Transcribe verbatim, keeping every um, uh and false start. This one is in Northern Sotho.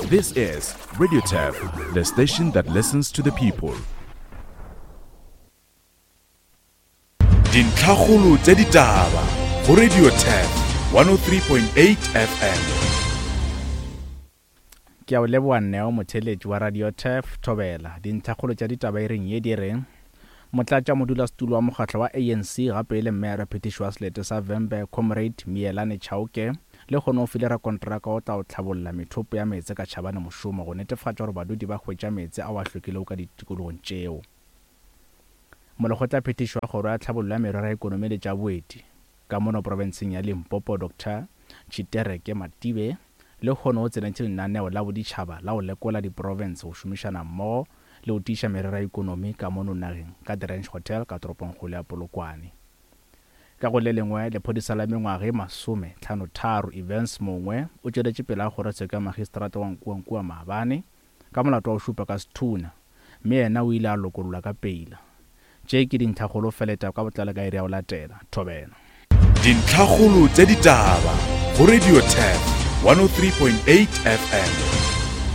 This is Radio Turf, the station that listens to the people. Dintlhakgolo tša ditaba go Radio Turf one oh three point eight F M. Ke a o leboa Neo, motheeletši wa Radio Turf Thobela. Dintlhakgolo tša ditaba e reng ye di re motlatša modulasetulo wa mokgatlo wa A N C gape e le mmeyara phetiši wa selete sa Vhembe Comrade Miyelani Chauke le kgone o file rakontraka o tla o tlhabolla methopo ya meetse ka tšhabane mošomo go netefatša gore badudi ba hwetša meetse ao a hlwekilego ka ditikologong tšeo. Molekgotla phetiši wa kgoro ya tlhabollo ya merero ya ekonomi le tša boeti ka mono profenseng ya Limpopo Doctor Tshitereke Matibe le kgone o tsenetše lenaneo la boditšhaba la go lekola diprofense go šomišana mmogo le go tiiša merero ya ekonomi ka mono nageng ka The Ranch Hotel ka toropongkgolo ya Polokwane. Ka go le lengwe, lephodisa la mengwaga e masome tlhano tharo Evans Mongwe o tšweletše pele a kgorotsheko ya magistrata wa Nkuankua maabane ka molato wa go šupa ka sethunya, mme yena o ile a lokollwa ka peila. Tše ke dintlhakgolo feleta ka botlalo ka iri ya go latela. Thobela. Dintlhakgolo tša ditaba go Radio Turf one oh three point eight F M.